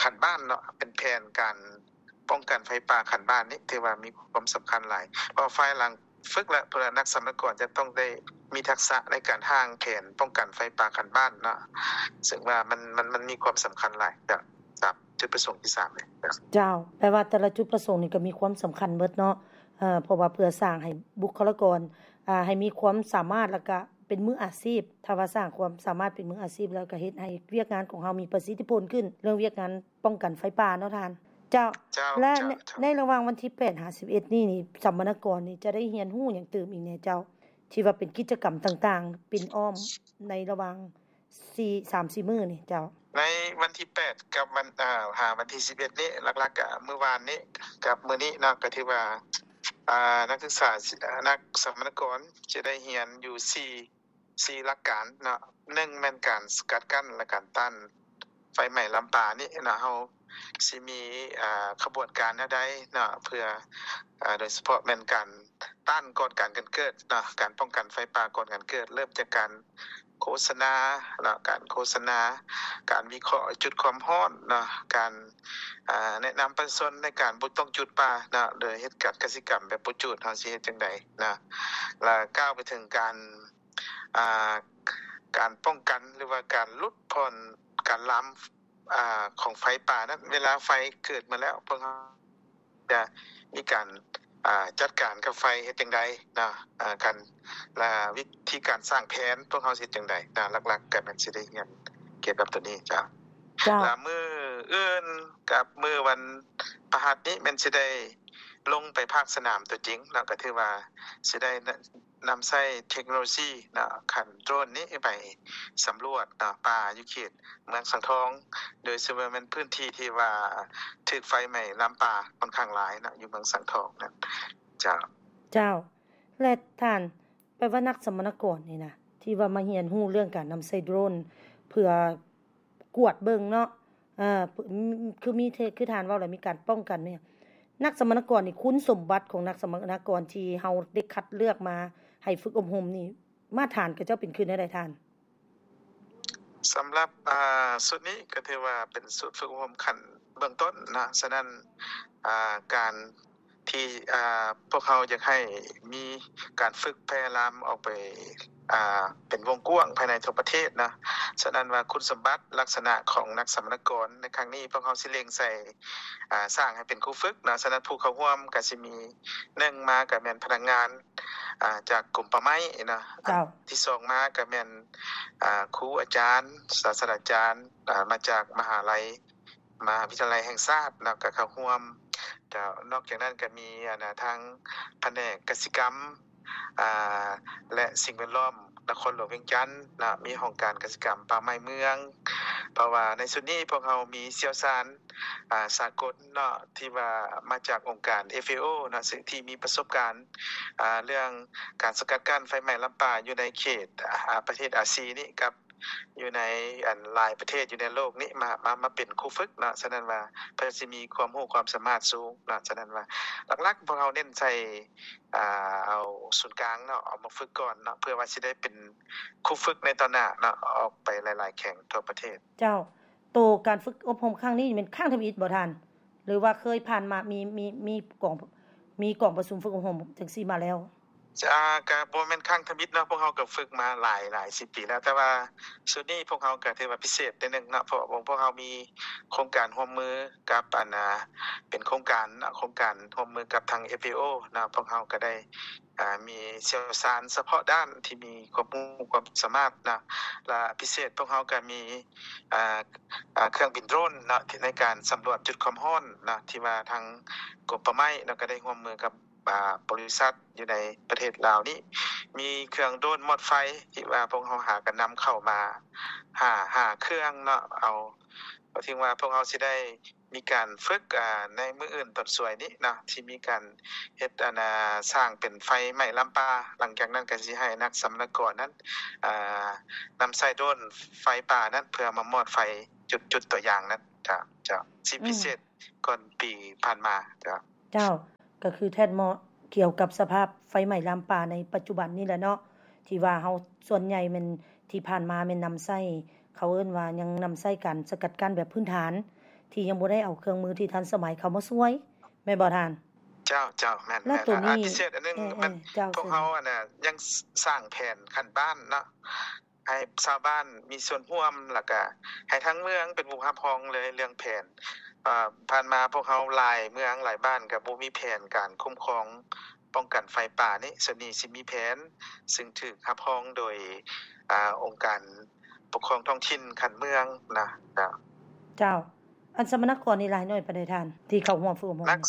ຂັ້ນບ້ານເນາະ ເປັນແຜນການປ້ອງກັນໄຟປ່າຂັ້ນບ້ານນີ້ ຖືວ່າມີຄວາມສຳຄັນຫຼາຍ ເພາະວ່າພາຍຫຼັງຝຶກແລ້ວ ພວກນັກສຳມະນາກອນຈະຕ້ອງໄດ້ມີທັກສະໃນການຮ່າງແຜນປ້ອງກັນໄຟປ່າຂັ້ນບ້ານເນາະ ເຊິ່ງວ່າມັນ ມັນ ມັນມີຄວາມສຳຄັນຫຼາຍ ຈາກ ຈາກຈຸດປະສົງທີສາມນີ້. ເຈົ້າ ແປວ່າແຕ່ລະຈຸດປະສົງນີ້ກໍມີຄວາມສຳຄັນເບິດເນາະ ເພາະວ່າເພື່ອສ້າງໃຫ້ບຸກຄະລາກອນ ອ່າ ໃຫ້ມີຄວາມສາມາດ ແລ້ວກະເປັນມືອາຊີບ ຖ້າວ່າສ້າງຄວາມສາມາດເປັນມືອາຊີບແລ້ວ ກະເຮັດໃຫ້ວຽກງານຂອງເຮົາມີປະສິດທິຜົນຂຶ້ນ ເລື່ອງວຽກງານປ້ອງກັນໄຟປ່າເນາະທ່ານ. ເຈົ້າ ເຈົ້າ ແລະ ເຈົ້າ ໃນ ເຈົ້າ ໃນລະຫວ່າງວັນທີແປດຫາສິບເອັດນີ້ນີ້ ສຳມະນາກອນນີ້ຈະໄດ້ຮຽນຮູ້ຫຍັງຕື່ມອີກແດ່ເຈົ້າ ທີ່ວ່າເປັນກິດຈະກຳຕ່າງໆ ປິ່ນອ້ອມໃນລະຫວ່າງ ສີ່ ສາມສີ່ມື້ນີ້ເຈົ້າ? ໃນວັນທີແປດກັບວັນ ເອີ ຫາວັນທີສິບເອັດນີ້ ຫຼັກໆກະມື້ວານນີ້ກັບມື້ນີ້ເນາະ ກະຖືວ່າ ອ່າ ນັກສຶກສາ ນັກສຳມະນາກອນຈະໄດ້ຮຽນຢູ່ສີ່ ສີ່ຫຼັກການເນາະ ໜຶ່ງແມ່ນການສະກັດກັ້ນ ແລະ ການຕ້ານໄຟໄໝ້ລາມປ່ານີ້ເນາະ ເຮົາຊິມີ ອ່າ ຂະບວນການແນວໃດເນາະ ເພື່ອ ອ່າ ໂດຍສະເພາະແມ່ນການ ຕ້ານກ່ອນການ ການເກີດເນາະ ການປ້ອງກັນໄຟປ່າກ່ອນການເກີດ ເລີ່ມຈາກການໂຄສະນາເນາະ ການໂຄສະນາ ການວິເຄາະຈຸດຄວາມຮ້ອນເນາະ ການ ອ່າ ແນະນຳປະຊາຊົນໃນການບໍ່ຕ້ອງຈູດປ່າເນາະ ໂດຍເຮັດການກະສິກຳແບບບໍ່ຈູດ ເຮົາຊິເຮັດຈັ່ງໃດເນາະ ແລະ ກ່າວໄປເຖິງການ ອ່າ ການປ້ອງກັນ ຫຼືວ່າການຫຼຸດຜ່ອນການລາມ ອ່າ ຂອງໄຟປ່ານັ້ນ ເວລາໄຟເກີດມາແລ້ວ ພວກເຮົາຈະມີການ ອ່າ ຈັດການກັບໄຟເຮັດຈັ່ງໃດເນາະ ອ່າ ການ ແລະ ວິທີການສ້າງແຜນ ພວກເຮົາຊິເຮັດຈັ່ງໃດເນາະ ຫຼັກໆກໍແມ່ນຊິໄດ້ຮຽນກ່ຽວກັບໂຕນີ້ເຈົ້າ. ເຈົ້າ ແລະ ມື້ອື່ນກັບມື້ວັນພະຫັດນີ້ແມ່ນຊິໄດ້ລົງໄປພາກສະໜາມຕົວຈິງເນາະ ກໍຖືວ່າຊິໄດ້ ນຳໃຊ້ເທັກໂນໂລຊີເນາະ ຂັ້ນໂດຣນນີ້ໄປສຳຫຼວດເນາະ ປ່າຢູ່ເຂດເມືອງສັງທອງ ໂດຍສະເພາະແມ່ນພື້ນທີ່ທີ່ວ່າຖືກໄຟໄໝ້ລາມປ່າຂ້ອນຂ້າງຫຼາຍເນາະ ຢູ່ເມືອງສັງທອງນັ້ນເຈົ້າ. ເຈົ້າ ແລະ ທ່ານ ແປວ່ານັກສຳມະນາກອນນີ້ນະ ທີ່ວ່າມາຮຽນຮູ້ເລື່ອງການນຳໃຊ້ໂດຣນ ເພື່ອ ກວດເບິ່ງເນາະ ເອີ ຄືມີເທ ຄືທ່ານເວົ້າແຫຼະ ມີການປ້ອງກັນ ແມ່ນຫຍັງ ນັກສຳມະນາກອນນີ້ ຄຸນສົມບັດຂອງນັກສຳມະນາກອນທີ່ເຮົາໄດ້ຄັດເລືອກມາໃຫ້ຝຶກອົບຮົມນີ້ ມາດຖານຂະເຈົ້າເປັນຄືແນວໃດທ່ານ? ສຳລັບ ອ່າ ຊຸດນີ້ກໍຖືວ່າເປັນຊຸດຝຶກອົບຮົມຂັ້ນເບື້ອງຕົ້ນເນາະ ສະນັ້ນ ອ່າ ການ ທີ່ ອ່າ ພວກເຮົາຢາກໃຫ້ມີການຝຶກແຜ່ລາມອອກໄປ ອ່າ ເປັນວົງກວ້າງພາຍໃນທົ່ວປະເທດເນາະ. ສະນັ້ນວ່າຄຸນສົມບັດລັກສະນະຂອງນັກສຳມະນາກອນໃນຄັ້ງນີ້ ພວກເຮົາຊິເລັ່ງໃສ່ ອ່າ ສ້າງໃຫ້ເປັນຄູຝຶກເນາະ. ສະນັ້ນຜູ້ເຂົ້າຮ່ວມກໍຊິມີ ໜຶ່ງມາກໍແມ່ນພະນັກງານ ອ່າ ຈາກກົມປ່າໄມ້ເນາະ. ເຈົ້າ. ອັນທີສອງມາກໍແມ່ນ ອ່າ ຄູອາຈານ ສາສະດາຈານ ອ່າ ມາຈາກມະຫາໄລ ມະຫາວິທະຍາໄລແຫ່ງຊາດເນາະ ກໍເຂົ້າຮ່ວມ. ແລ້ວນອກຈາກນັ້ນກໍມີ ອັນນາ ທາງພະແນກກະສິກຳ ອ່າ ແລະ ສິ່ງແວດລ້ອມນະຄອນຫຼວງວຽງຈັນເນາະ, ມີຫ້ອງການກະສິກຳປ່າໄມ້ເມືອງ. ເພາະວ່າໃນຊຸດນີ້ພວກເຮົາມີຊ່ຽວຊານ ອ່າ ສາກົນເນາະ ທີ່ວ່າມາຈາກອົງການ ເອຟເອໂອ ເນາະ ຊຶ່ງທີ່ມີປະສົບການ ອ່າ ເລື່ອງການສະກັດກັ້ນໄຟໄໝ້ລຳປ່າຢູ່ໃນເຂດ ອ່າ ປະເທດອາຊີນີ້ ກັບ ຢູ່ໃນອັນຫຼາຍປະເທດຢູ່ໃນໂລກນີ້ ມາ ມາ ມາເປັນຄູຝຶກເນາະ. ສະນັ້ນວ່າເພິ່ນຊິມີຄວາມຮູ້ຄວາມສາມາດສູງເນາະ. ສະນັ້ນວ່າຫຼັກໆພວກເຮົາເນັ້ນໃສ່ ອ່າ ເອົາສູນກາງເນາະ ເອົາມາຝຶກກ່ອນເນາະ ເພື່ອວ່າຊິໄດ້ເປັນຄູຝຶກໃນຕອນໜ້າເນາະ ອອກໄປຫຼາຍໆແຂວງທົ່ວປະເທດ. ເຈົ້າ. ໂຕການຝຶກອົບຮົມຄັ້ງນີ້ແມ່ນຄັ້ງທຳອິດບໍ່ທ່ານ? ຫຼືວ່າເຄີຍຜ່ານມາ ມີ ມີ ມີກອງ ມີກອງປະຊຸມຝຶກອົບຮົມຈັ່ງຊີ້ມາແລ້ວ? ອ່າ ກະບໍ່ແມ່ນຄັ້ງທຳອິດເນາະ, ພວກເຮົາກະຝຶກມາຫຼາຍ ຫຼາຍສິບປີແລ້ວ, ແຕ່ວ່າຊຸດນີ້ພວກເຮົາກະຖືວ່າພິເສດໜ້ອຍໜຶ່ງເນາະ, ເພາະວ່າພວກເຮົາມີໂຄງການຮ່ວມມືກັບ ອັນນາ ເປັນໂຄງການເນາະ, ໂຄງການຮ່ວມມືກັບທາງ ເອຟເອໂອ ເນາະ, ພວກເຮົາກະໄດ້ ອ່າ ມີຊ່ຽວຊານສະເພາະດ້ານທີ່ມີຄວາມຮູ້ຄວາມສາມາດເນາະ, ລະພິເສດພວກເຮົາກະມີ ອ່າ ອ່າ ເຄື່ອງບິນໂດຣນເນາະ ທີ່ໃນການສຳຫຼວດຈຸດຄວາມຮ້ອນເນາະ ທີ່ວ່າທາງກົມປ່າໄມ້ເນາະ ກະໄດ້ຮ່ວມມືກັບ ອ່າ ບໍລິສັດຢູ່ໃນປະເທດລາວນີ້ ມີເຄື່ອງໂດຣນມອດໄຟ ທີ່ວ່າພວກເຮົາຫາກະນຳເຂົ້າມາ ຫ້າ ຫ້າເຄື່ອງເນາະ. ເອົາ ກໍຖືວ່າພວກເຮົາຊິໄດ້ມີການຝຶກ ອ່າ ໃນມື້ອື່ນຕອນສວຍນີ້ເນາະ ທີ່ມີການເຮັດ ອັນນາ ສ້າງເປັນໄຟໄໝ້ລາມປ່າ, ຫຼັງຈາກນັ້ນກະຊິໃຫ້ນັກສຳມະນາກອນນັ້ນ ອ່າ ນຳໃຊ້ໂດຣນໄຟປ່ານັ້ນ ເພື່ອມາມອດໄຟຈຸດ ຈຸດຕົວຢ່າງນັ້ນ. ເຈົ້າ ເຈົ້າ ຊິ ອືມ ພິເສດ ກ່ອນປີຜ່ານມາ. ເຈົ້າ ເຈົ້າ ກໍຄືແທດເໝາະກ່ຽວກັບສະພາບໄຟໄໝ້ລາມປ່າໃນປັດຈຸບັນນີ້ແຫຼະເນາະ ທີ່ວ່າເຮົາສ່ວນໃຫຍ່ແມ່ນ ທີ່ຜ່ານມາແມ່ນນຳໃຊ້ ເຂົາເອີ້ນວ່າຍັງນຳໃຊ້ການສະກັດກັ້ນແບບພື້ນຖານ ທີ່ຍັງບໍ່ໄດ້ເອົາເຄື່ອງມືທີ່ທັນສະໄໝເຂົ້າມາຊ່ວຍ ແມ່ນບໍ່ທ່ານ? ເຈົ້າ ເຈົ້າ ແມ່ນ ແລະ ແມ່ນ ໂຕນີ້ ອ່າ ພິເສດອັນໜຶ່ງ ເອີ ແມ່ນ ເອີ ເຈົ້າ ພວກເຮົາ ອັນນະ ຍັງສ້າງແຜນຂັ້ນບ້ານເນາະ ໃຫ້ຊາວບ້ານມີສ່ວນຮ່ວມ ແລ້ວກະໃຫ້ທາງເມືອງເປັນຜູ້ຮັບຮອງເລີຍເລື່ອງແຜນ. ເອີ ຜ່ານມາພວກເຮົາຫຼາຍເມືອງຫຼາຍບ້ານກະບໍ່ມີແຜນການຄຸ້ມຄອງປ້ອງກັນໄຟປ່ານີ້, ສ່ວນນີ້ຊິມີແຜນ ຊຶ່ງຖືກຮັບຮອງໂດຍ ອ່າ ອົງການປົກຄອງທ້ອງຖິ່ນຂັ້ນເມືອງນະ. ເຈົ້າ ເຈົ້າ ອັນສຳມະນາກອນນີ້ຫຼາຍໜ້ອຍປານໃດທ່ານ ທີ່ເຂົ້າຮ່ວມຝຶກອົບຮົມ? ນັກ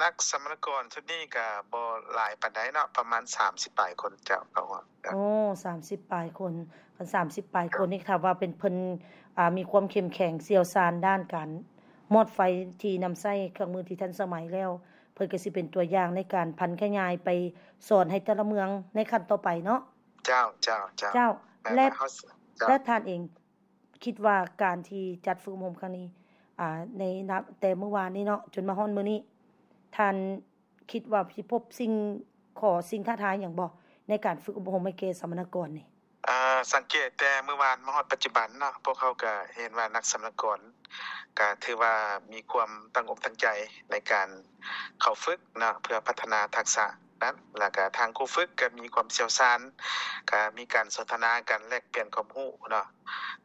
ນັກສຳມະນາກອນຊຸດນີ້ກະບໍ່ຫຼາຍປານໃດເນາະ ປະມານສາມສິບປາຍຄົນເຈົ້າ ເຂົ້າຮ່ວມ. ໂອ້ ສາມສິບປາຍຄົນ ຄັນສາມສິບປາຍຄົນນີ້ ຖ້າວ່າເປັນເພິ່ນ ອ່າ ມີຄວາມເຂັ້ມແຂງຊ່ຽວຊານດ້ານການມອດໄຟທີ່ນຳໃຊ້ເຄື່ອງມືທີ່ທັນສະໄໝແລ້ວ ເພິ່ນກະຊິເປັນຕົວຢ່າງໃນການຜັນຂະຫຍາຍໄປສອນໃຫ້ແຕ່ລະເມືອງໃນຂັ້ນຕໍ່ໄປເນາະ. ເຈົ້າ ເຈົ້າ ເຈົ້າ ເຈົ້າ ແລະ ເຈົ້າ ແລະ ທ່ານເອງ ຄິດວ່າການທີ່ຈັດຝຶກອົບຮົມຄັ້ງນີ້ ອ່າ ໃນນັບແຕ່ມື້ວານນີ້ເນາະ ຈົນມາຮອດມື້ນີ້ ທ່ານຄິດວ່າຊິພົບສິ່ງ ຂໍ້ ສິ່ງທ້າທາຍຫຍັງບໍ່ ໃນການຝຶກອົບຮົມໃຫ້ແກ່ສຳມະນາກອນນີ້? ອ່າ ສັງເກດແຕ່ມື້ວານມາຮອດປັດຈຸບັນເນາະ ພວກເຮົາກະເຫັນວ່ານັກສຳມະນາກອນ ກະຖືວ່າມີຄວາມຕັ້ງອົກຕັ້ງໃຈໃນການເຂົ້າຝຶກເນາະ ເພື່ອພັດທະນາທັກສະນັ້ນ ແລ້ວກະທາງຄູຝຶກກະມີຄວາມຊ່ຽວຊານ ກະມີການສົນທະນາກັນ ແລກປ່ຽນຄວາມຮູ້ເນາະ.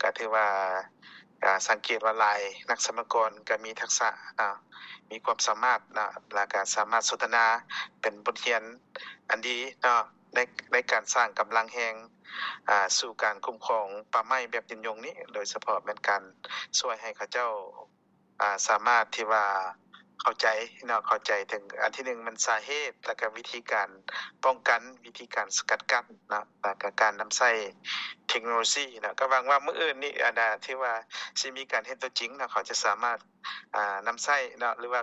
ກະຖືວ່າ ກະສັງເກດວ່າຫຼາຍນັກສຳມະນາກອນກະມີທັກສະເນາະ ມີຄວາມສາມາດເນາະ ແລ້ວກະສາມາດສົນທະນາເປັນບົດຮຽນອັນດີເນາະ ໃນ ໃນການສ້າງກຳລັງແຮງ ອ່າ ສູ່ການຄຸ້ມຄອງປ່າໄມ້ແບບຍືນຍົງນີ້ ໂດຍສະເພາະແມ່ນການຊ່ວຍໃຫ້ເຂົາເຈົ້າ ອ່າ ສາມາດທີ່ວ່າເຂົ້າໃຈເນາະ ເຂົ້າໃຈເຖິງ ອັນທີໜຶ່ງແມ່ນສາເຫດ ແລ້ວກະວິທີການປ້ອງກັນ ວິທີການສະກັດກັ້ນເນາະ ແລ້ວກະການນຳໃຊ້ເທັກໂນໂລຊີເນາະ. ກະຫວັງວ່າມື້ອື່ນນີ້ ອັນນາ ຖືວ່າຊິມີການເຮັດຕົວຈິງເນາະ ເຂົາຈະສາມາດ ອ່າ ນຳໃຊ້ເນາະ ຫຼືວ່າ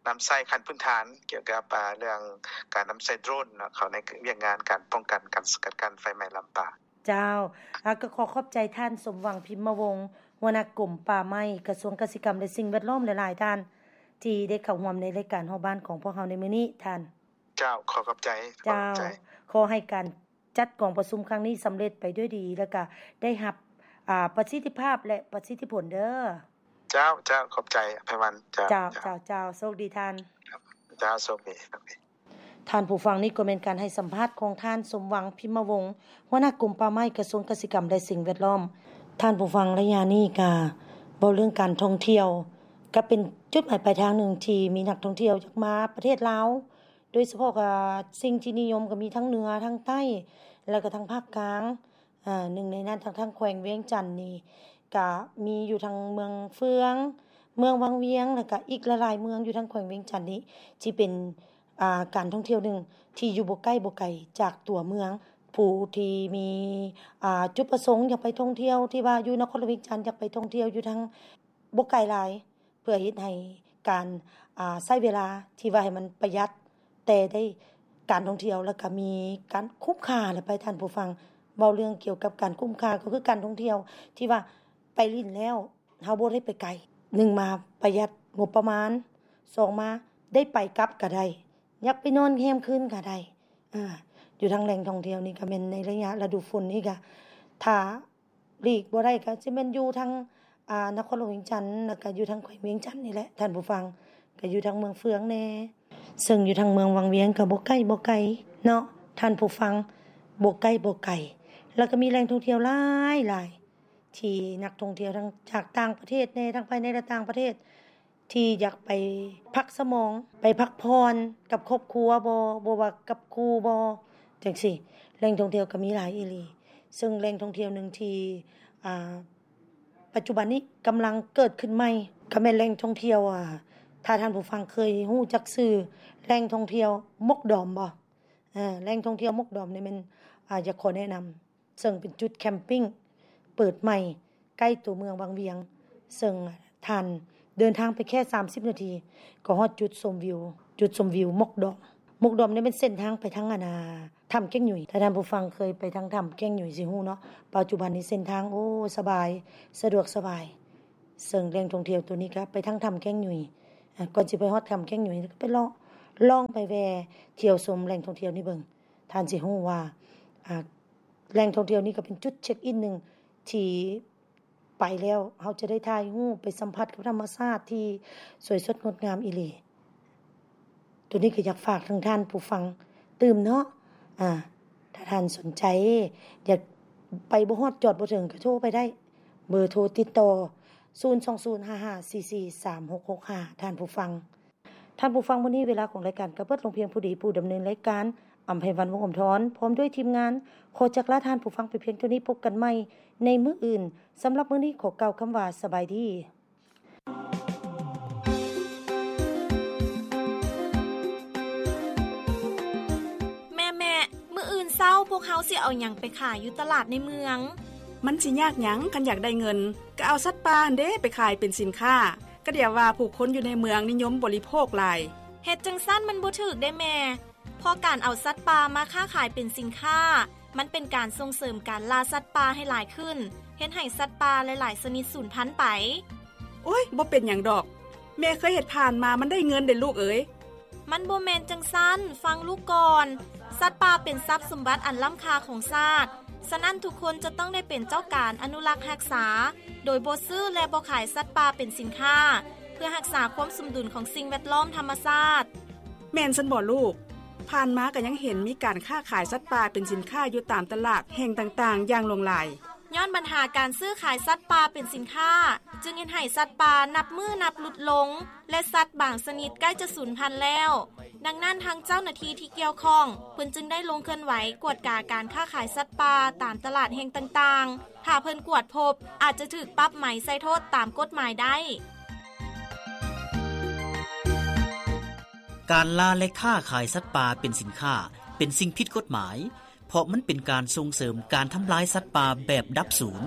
ນຳໃຊ້ຂັ້ນພື້ນຖານກ່ຽວກັບ ອ່າ ເລື່ອງການນຳໃຊ້ໂດຣນເນາະ ເຂົ້າໃນວຽກງານການປ້ອງກັນ ການສະກັດກັ້ນໄຟໄໝ້ລຳປ່າ. ເຈົ້າ ອາ ກໍຂໍຂອບໃຈທ່ານ ສົມຫວັງ ພິມມະວົງ ຫົວໜ້າກົມປ່າໄມ້ ກະຊວງກະສິກຳ ແລະ ສິ່ງແວດລ້ອມຫຼາຍໆທ່ານ ທີ່ໄດ້ເຂົ້າຮ່ວມໃນລາຍການຮອບບ້ານຂອງພວກເຮົາໃນມື້ນີ້ທ່ານ. ເຈົ້າ ຂໍຂອບໃຈ ເຈົ້າ ຂໍໃຫ້ການຈັດກອງປະຊຸມຄັ້ງນີ້ສຳເລັດໄປດ້ວຍດີ ແລ້ວກະໄດ້ຮັບ ອາ ປະສິດທິພາບ ແລະ ປະສິດທິຜົນເດີ. ເຈົ້າ ເຈົ້າ ຂອບໃຈ ໄພວັນ. ເຈົ້າ ເຈົ້າ ເຈົ້າ ເຈົ້າ ໂຊກດີທ່ານ. ເຈົ້າ ໂຊກດີ ໂຊກດີ. ທ່ານຜູ້ຟັງ, ນີ້ກໍແມ່ນການໃຫ້ສຳພາດຂອງທ່ານ ສົມຫວັງ ພິມມະວົງ ຫົວໜ້າກົມປ່າໄມ້ ກະຊວງກະສິກຳ ແລະ ສິ່ງແວດລ້ອມ. ທ່ານຜູ້ຟັງ, ໄລຍະນີ້ກະເວົ້າເລື່ອງການທ່ອງທ່ຽວ ກະເປັນຈຸດໝາຍປາຍທາງໜຶ່ງທີ່ມີນັກທ່ອງທ່ຽວຢາກມາປະເທດລາວ, ໂດຍສະເພາະກະສິ່ງທີ່ນິຍົມກະມີທັງເໜືອ, ທັງໃຕ້ ແລະ ກະທັງພາກກາງ. ອາ ໜຶ່ງໃນນັ້ນ ທາງ ທາງແຂວງວຽງຈັນນີ້ ກະມີຢູ່ທັງເມືອງເຟືອງ, ເມືອງວັງວຽງ ແລະ ກະອີກຫຼາຍໆເມືອງຢູ່ທາງແຂວງວຽງຈັນນີ້ ທີ່ເປັນ ອາ ການທ່ອງທ່ຽວໜຶ່ງທີ່ຢູ່ບໍ່ໃກ້ບໍ່ໄກຈາກຕົວເມືອງ. ຜູ້ທີ່ມີ ອາ ຈຸດປະສົງຢາກໄປທ່ອງທ່ຽວ ທີ່ວ່າຢູ່ນະຄອນຫຼວງວຽງຈັນ ຢາກໄປທ່ອງທ່ຽວຢູ່ທາງບໍ່ໄກຫຼາຍ ເພື່ອເຮັດໃຫ້ການ ອາ ໃຊ້ເວລາທີ່ວ່າໃຫ້ມັນປະຢັດ ແຕ່ໄດ້ການທ່ອງທ່ຽວ ແລ້ວກະມີການຄຸ້ມຄ່າແຫຼະໄປທ່ານຜູ້ຟັງ. ເວົ້າເລື່ອງກ່ຽວກັບການຄຸ້ມຄ່າ ກໍຄືການທ່ອງທ່ຽວທີ່ວ່າໄປຫຼິ້ນແລ້ວ ເຮົາບໍ່ໄດ້ໄປໄກ. ໜຶ່ງມາປະຢັດງົບປະມານ, ສອງມາໄດ້ໄປກັບກະໄດ້, ຢາກໄປນອນແຮມຄືນກະໄດ້. ອາ ຢູ່ທາງແຫຼ່ງທ່ອງທ່ຽວນີ້ກະແມ່ນໃນໄລຍະລະດູຝົນນີ້ກະ ຖ້າ ຫຼີກບໍ່ໄດ້ກະຊິແມ່ນຢູ່ທາງ ອາ ນະຄອນຫຼວງວຽງຈັນ ແລ້ວກະຢູ່ທາງແຂວງວຽງຈັນນີ້ແຫຼະທ່ານຜູ້ຟັງ, ກະຢູ່ທາງເມືອງເຟືອງແດ່ ເຊິ່ງຢູ່ທາງເມືອງວັງວຽງກະບໍ່ໃກ້ບໍ່ໄກເນາະທ່ານຜູ້ຟັງ, ບໍ່ໃກ້ບໍ່ໄກ ແລ້ວກະມີແຫຼ່ງທ່ອງທ່ຽວຫຼາຍໆ ທີ່ນັກທ່ອງທ່ຽວທັງຈາກຕ່າງປະເທດແດ່ ທັງພາຍໃນ ແລະ ຕ່າງປະເທດ ທີ່ຢາກໄປພັກສະໝອງ ໄປພັກຜ່ອນກັບຄອບຄົວບໍ ບໍ່ວ່າກັບຄູ່ບໍ ຈັ່ງຊີ້. ແຫຼ່ງທ່ອງທ່ຽວກໍມີຫຼາຍອີ່ຫຼີ, ເຊິ່ງແຫຼ່ງທ່ອງທ່ຽວໜຶ່ງທີ່ ອາ ປັດຈຸບັນນີ້ກຳລັງເກີດຂຶ້ນໃໝ່ ກໍແມ່ນແຫຼ່ງທ່ອງທ່ຽວ ອາ ຖ້າທ່ານຜູ້ຟັງເຄີຍຮູ້ຈັກຊື່ແຫຼ່ງທ່ອງທ່ຽວໝົກດອມບໍ? ອາ ແຫຼ່ງທ່ອງທ່ຽວໝົກດອມນີ້ແມ່ນ ອາ ຢາກຂໍແນະນຳ ເຊິ່ງເປັນຈຸດແຄມປິງເປີດໃໝ່ໃກ້ຕົວເມືອງວັງວຽງ, ເຊິ່ງທ່ານເດີນທາງໄປແຄ່ສາມສິບນາທີ ກໍຮອດຈຸດຊົມວິວ, ຈຸດຊົມວິວໝອກດອງ. ໝອກດອງນີ້ແມ່ນເສັ້ນທາງໄປທາງ ອັນນ່າ ຖ້ຳແກ້ງຫຍຸຍ. ຖ້າທ່ານຜູ້ຟັງເຄີຍໄປທາງຖ້ຳແກ້ງຫຍຸຍຊິຮູ້ເນາະ, ປັດຈຸບັນນີ້ເສັ້ນທາງ ໂອ້ ສະບາຍ, ສະດວກສະບາຍ. ເຊິ່ງແຫຼ່ງທ່ອງທ່ຽວໂຕນີ້ກໍໄປທາງຖ້ຳແກ້ງຫຍຸຍ. ອາ ກ່ອນຊິໄປຮອດຖ້ຳແກ້ງຫຍຸຍ ກໍໄປເລາະ ລອງໄປແວ່ທ່ຽວຊົມແຫຼ່ງທ່ອງທ່ຽວນີ້ເບິ່ງ. ທ່ານຊິຮູ້ວ່າ ອາ ແຫຼ່ງທ່ອງທ່ຽວນີ້ກໍເປັນຈຸດເຊັກອິນໜຶ່ງທີ່ໄປແລ້ວເຮົາຈະໄດ້ຖ່າຍຮູບ ໄປສຳຜັດກັບທຳມະຊາດທີ່ສວຍສົດງົດງາມອີ່ຫຼີ. ໂຕນີ້ກໍຢາກຝາກເຖິງທ່ານຜູ້ຟັງຕື່ມເນາະ. ອາ ຖ້າທ່ານສົນໃຈ ຢາກໄປບໍ່ຮອດ ຈອດບໍ່ເຖິງ ກໍໂທໄປໄດ້. ເບີໂທຕິດຕໍ່ ສູນສອງສູນ ຫ້າຫ້າສີ່ສີ່ ສາມຫົກຫົກຫ້າ ທ່ານຜູ້ຟັງ. ທ່ານຜູ້ຟັງ, ມື້ນີ້ເວລາຂອງລາຍການກໍເບິດລົງພຽງພໍດີ. ຜູ້ດຳເນີນລາຍການ ອຳໄພວັນ ວົງອຳທອນ ພ້ອມດ້ວຍທີມງານ ຂໍຈັກລາທ່ານຜູ້ຟັງໄປພຽງເທົ່ານີ້. ພົບກັນໃໝ່ໃນມື້ອື່ນ. ສຳລັບມື້ນີ້ ຂໍກ່າວຄຳວ່າ ສະບາຍດີ. ແມ່ໆ, ມື້ອື່ນເຊົ້າພວກເຮົາຊິເອົາຫຍັງໄປຂາຍຢູ່ຕະຫຼາດໃນເມືອງ? ມັນຊິຍາກຫຍັງ? ຄັນຢາກໄດ້ເງິນ ກໍເອົາສັດປ່າຫັ້ນເດ້ໄປຂາຍເປັນສິນຄ້າ. ກະດຽວວ່າຜູ້ຄົນຢູ່ໃນເມືອງນິຍົມບໍລິໂພກຫຼາຍ. ເຮັດຈັ່ງຊັ້ນມັນບໍ່ຖືກເດ້ແມ່, ເພາະການເອົາສັດປ່າມາຄ້າຂາຍເປັນສິນຄ້າ ມັນເປັນການສົ່ງເສີມການລ່າສັດປ່າໃຫ້ຫຼາຍຂຶ້ນ, ເຮັດໃຫ້ສັດປ່າຫຼາຍໆຊະນິດສູນພັນໄປ. ໂອ້ຍ, ບໍ່ເປັນຫຍັງດອກ. ແມ່ເຄີຍເຮັດຜ່ານມາ, ມັນໄດ້ເງິນເດ້ລູກເອີຍ. ມັນບໍ່ແມ່ນຈັ່ງຊັ້ນ, ຟັງລູກກ່ອນ. ສັດປ່າເປັນຊັບສົມບັດອັນລ້ຳຄ່າຂອງຊາດ, ສະນັ້ນທຸກຄົນຈະຕ້ອງໄດ້ເປັນເຈົ້າການອະນຸລັກຮັກສາ, ໂດຍບໍ່ຊື້ ແລະ ບໍ່ຂາຍສັດປ່າເປັນສິນຄ້າ, ເພື່ອຮັກສາຄວາມສົມດຸນຂອງສິ່ງແວດລ້ອມທຳມະຊາດ. ແມ່ນຊັ້ນບໍລູກ? ຜ່ານມາກໍຍັງເຫັນມີການຄ້າຂາຍສັດປ່າເປັນສິນຄ້າຢູ່ຕາມຕະຫຼາດແຫ່ງຕ່າງໆຢ່າງຫຼວງຫຼາຍ. ຍ້ອນບັນຫາການຊື້ຂາຍສັດປ່າເປັນສິນຄ້າ ຈຶ່ງເຮັດໃຫ້ສັດປ່ານັບມື້ນັບຫຼຸດລົງ ແລະ ສັດບາງຊະນິດໃກ້ຈະສູນພັນແລ້ວ. ດັ່ງນັ້ນ ທາງເຈົ້າໜ້າທີ່ທີ່ກ່ຽວຂ້ອງ ເພິ່ນຈຶ່ງໄດ້ລົງເຄື່ອນໄຫວກວດກາການຄ້າຂາຍສັດປ່າຕາມຕະຫຼາດແຫ່ງຕ່າງໆ. ຖ້າເພິ່ນກວດພົບ ອາດຈະຖືກປັບໃໝໃສ່ໂທດຕາມກົດໝາຍໄດ້. ການລ່າ ແລະ ຄ້າຂາຍສັດປ່າເປັນສິນຄ້າ ເປັນສິ່ງຜິດກົດໝາຍ, ເພາະມັນເປັນການສົ່ງເສີມການທຳລາຍສັດປ່າແບບດັບສູນ.